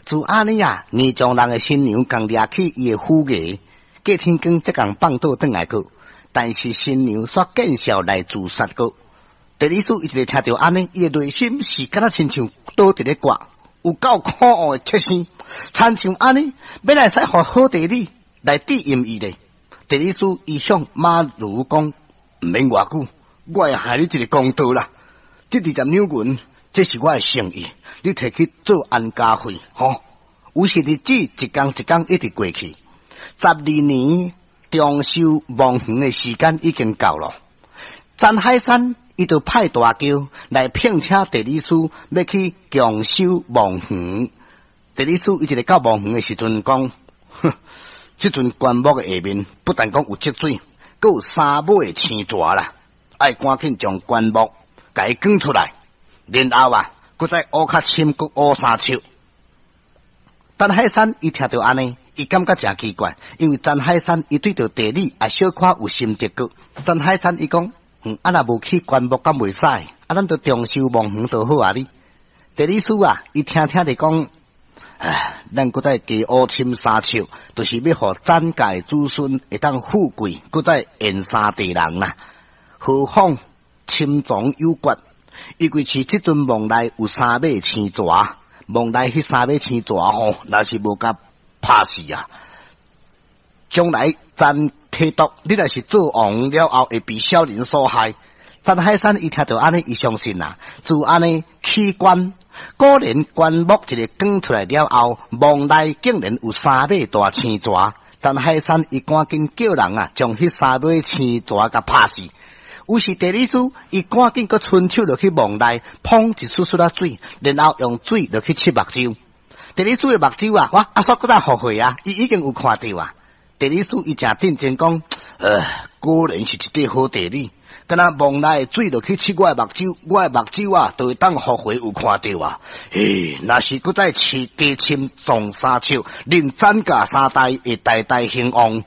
自按呢啊，倪丈人的新娘共掠去伊的虎牙，隔天光才共放倒轉來過。但是新娘煞見笑來自殺過。地理師伊一个聽著按呢，伊的內心是敢若親像刀佇咧割，有夠可惡的切聲，親像按呢，欲來使予好地理來致陰伊咧。地理師伊向馬如講，毋免偌久，我會還你一个公道啦。這20兩銀，這是我的誠意，你提去做安家費，吼。於是日子一工一工一直過去，12年重修墓園的時間已經到了。陳海山伊就派大轎來聘請地理師，欲去重修墓園。地理師伊一个到墓園的時陣講，哼，這陣棺木的下面不但講有積水，閣有三尾的青蛇啦，愛趕緊將棺木共伊捲出來，然後啊，閣再挖較深，閣挖3尺。陳海山伊聽著按呢，伊感覺誠奇怪，因為陳海山伊對著地理也小可有心得過。陳海山伊講，啊若無去棺木敢袂使，啊咱就重修墓園就好啊哩。地理師啊，伊聽聽著講，唉，咱閣再加挖深三尺，就是欲予陳家的子孫會當富貴，閣再延三代人啦。何況深藏有決，伊為是這陣墓內有三尾青蛇。墓內彼三尾青蛇吼，若是無共拍死啊，將來陳提督，你若是做王了後，會被小人所害。陳海山伊聽著按呢，伊相信啊，就按呢起棺，果然棺木一个捲出來了後，墓內竟然有三尾大青蛇。陳海山伊趕緊叫人啊，將彼三尾青蛇共拍死。於是地理師伊趕緊閣伸手落去墓內，捧一絲絲仔水，然後用水落去拭目睭。地理師的目睭啊，哇，啊煞閣再復活啊！伊已經有看著啊。地理師伊誠認真講，果然是一塊好地理。敢若墓內的水落去拭我的目睭，我的目睭啊，就會當復活有看著啊。嘿，若是閣再飼加深種3尺，恁陳家三代會代代興旺。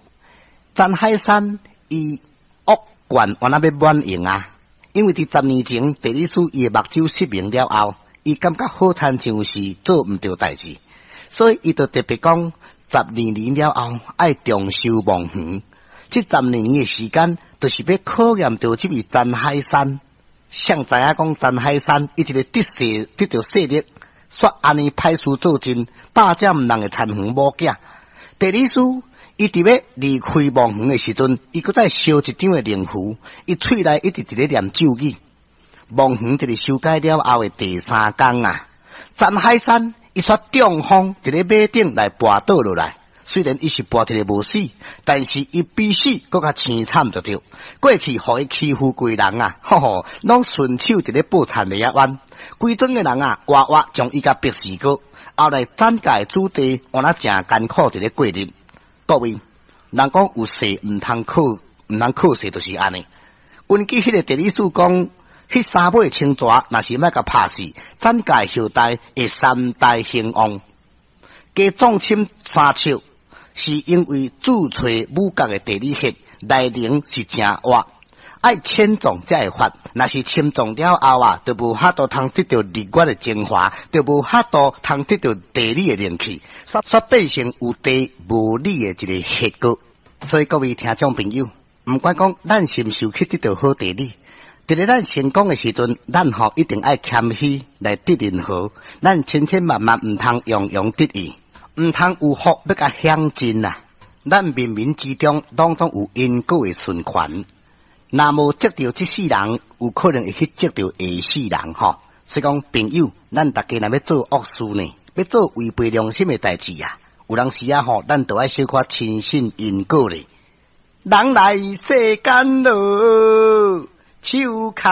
陳海山伊惡願原來欲滿盈啊，因為佇10年前地理師伊的目睭失明了後，伊感覺好親像是做毋著代誌，所以伊就特別講，十二年了後愛重修墓園。這十二年的時間，就是欲考驗著這位陳海山。誰知影講陳海山伊一个得勢得著勢力，煞按呢歹事做盡，霸佔人的田園某囝。地理師伊佇欲離開墓園的時陣，伊閣再燒一張的靈符，伊喙內一直佇咧念咒語。墓園佇咧修改了後的第三工啊，陳海山伊煞中風佇咧馬頂來跋倒落來。雖然伊是跋一个無死，但是伊比死閣較凄慘就對。過去予伊欺負過人啊，吼吼，攏順手佇咧報田螺仔灣，規莊的人啊，活活將伊共逼死過。後來陳家的子弟，原來誠艱苦佇咧過日。各位，人講有勢毋通靠，毋通靠勢，就是按呢。根據彼个地理師講，彼三尾青蛇若是欲共拍死，陳家後代會三代興旺。加壯深3尺，是因為主揣五角的地理學內容是誠活，愛淺種才會發。若是深種了後啊，就無法度通得著日月的精華，就無法度通得著地理的靈氣，煞變成有地無理的一个結果。所以各位聽眾朋友，毋管講咱是毋是有去得著好地理，佇咧咱成功的時陣，咱吼一定愛謙虛來得人和，咱千千萬萬毋通洋洋得意，毋通有福欲共享盡啊！咱冥冥之中攏總有因果的循環，若無積著這世人，有可能會去積著下世人吼。所以講，朋友，咱逐家若欲做惡事呢，欲做違背良心的代誌啊，有當時啊吼，咱就愛小可深信因果咧。人來世間囉，手牽。